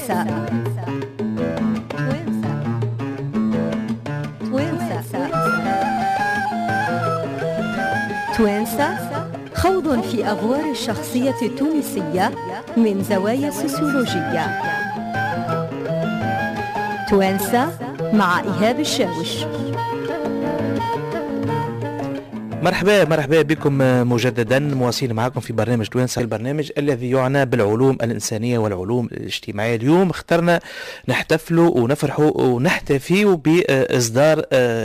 توانسة توانسة توانسة توانسة، خوض في أغوار الشخصية التونسية من زوايا سوسيولوجية. توانسة مع إيهاب الشاوش. مرحبا مرحبا بكم مجددا، مواصلين معكم في برنامج توانسة، البرنامج الذي يعنى بالعلوم الإنسانية والعلوم الاجتماعية. اليوم اخترنا نحتفلوا ونفرحوا ونحتفيوا بإصدار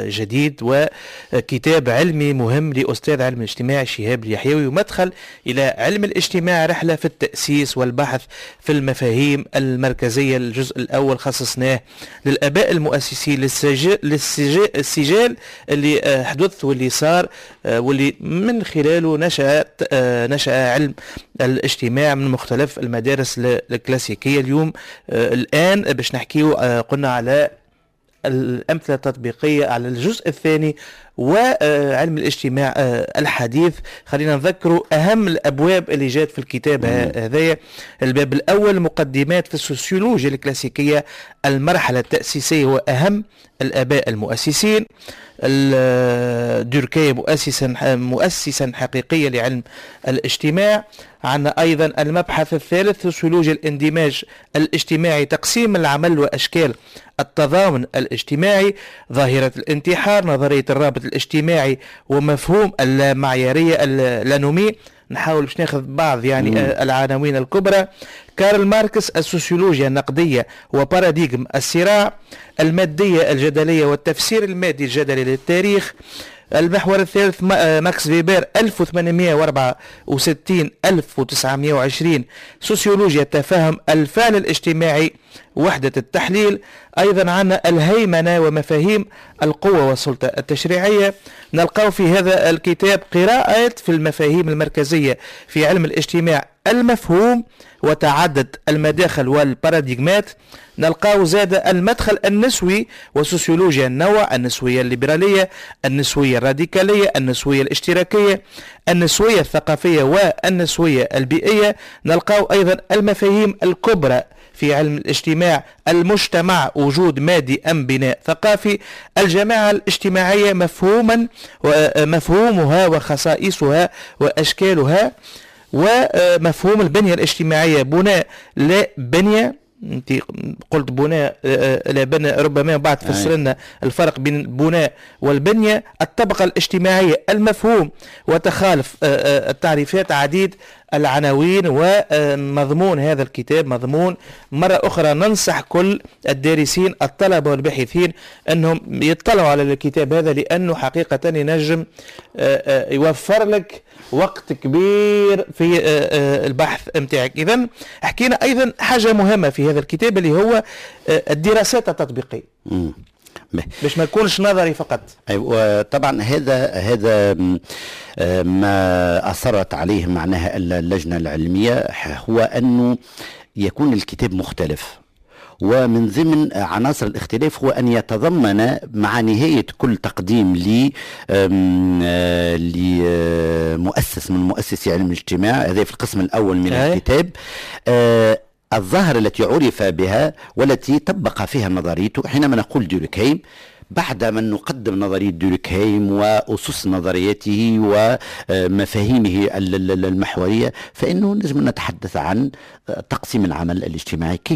جديد وكتاب علمي مهم لأستاذ علم الاجتماع شهاب اليحيوي، ومدخل إلى علم الاجتماع، رحلة في التأسيس والبحث في المفاهيم المركزية. الجزء الأول خصصناه للآباء المؤسسين، للسجال اللي حدث واللي صار واللي من خلاله نشأ علم الاجتماع من مختلف المدارس الكلاسيكية. اليوم الآن باش نحكيو قلنا على الأمثلة التطبيقية على الجزء الثاني وعلم الاجتماع الحديث. خلينا نذكروا أهم الأبواب اللي جات في الكتاب هذايا. الباب الأول مقدمات في السوسيولوجيا الكلاسيكية، المرحلة التأسيسية وأهم الآباء المؤسسين، دوركايم مؤسسا حقيقيا لعلم الاجتماع. عندنا أيضا المبحث الثالث سوسيولوجيا الاندماج الاجتماعي، تقسيم العمل وأشكال التضامن الاجتماعي، ظاهرة الانتحار، نظرية الرابط الاجتماعي ومفهوم المعيارية l'anomie. نحاول باش ناخذ بعض يعني العناوين الكبرى. كارل ماركس، السوسيولوجيا النقدية وباراديغم الصراع، المادية الجدلية والتفسير المادي الجدلي للتاريخ. المحور الثالث ماكس فيبر 1864 1920، سوسيولوجيا التفاهم، الفعل الاجتماعي، وحدة التحليل. أيضا عندنا الهيمنة ومفاهيم القوة والسلطة التشريعية. نلقاو في هذا الكتاب قراءات في المفاهيم المركزية في علم الاجتماع، المفهوم وتعدد المداخل والباراديغمات. نلقاو زاد المدخل النسوي وسوسيولوجيا النوع، النسوية الليبرالية، النسوية الراديكالية، النسوية الاشتراكية، النسوية الثقافية والنسوية البيئية. نلقاو أيضا المفاهيم الكبرى في علم الاجتماع، المجتمع وجود مادي أم بناء ثقافي، الجماعة الاجتماعية مفهوما ومفهومها وخصائصها وأشكالها، ومفهوم البنية الاجتماعية، بناء لا بنية. انت قلت بناء لا بناء، ربما بعد تفسر لنا الفرق بين البناء والبنية. الطبقة الاجتماعية، المفهوم وتخالف التعريفات، عديد العناوين ومضمون هذا الكتاب مضمون. مرة أخرى ننصح كل الدارسين الطلبة والباحثين أنهم يطلعوا على الكتاب هذا، لأنه حقيقة ينجم يوفر لك وقت كبير في البحث متاعك. إذن حكينا أيضا حاجة مهمة في هذا الكتاب اللي هو الدراسات التطبيقية، باش ما يكونش نظري فقط. أيوة طبعا هذا ما أصرت عليه معناها اللجنة العلمية، هو أنه يكون الكتاب مختلف، ومن ضمن عناصر الاختلاف هو أن يتضمن مع نهاية كل تقديم لمؤسس من مؤسسي علم الاجتماع، هذا في القسم الأول من الكتاب، الظاهرة التي عرف بها والتي طبق فيها نظريته. حينما نقول دوركهايم، بعد من نقدم نظرية دوركهايم وأسس نظريته ومفاهيمه المحورية، فإنه نجم نتحدث عن تقسيم العمل الاجتماعي، كيف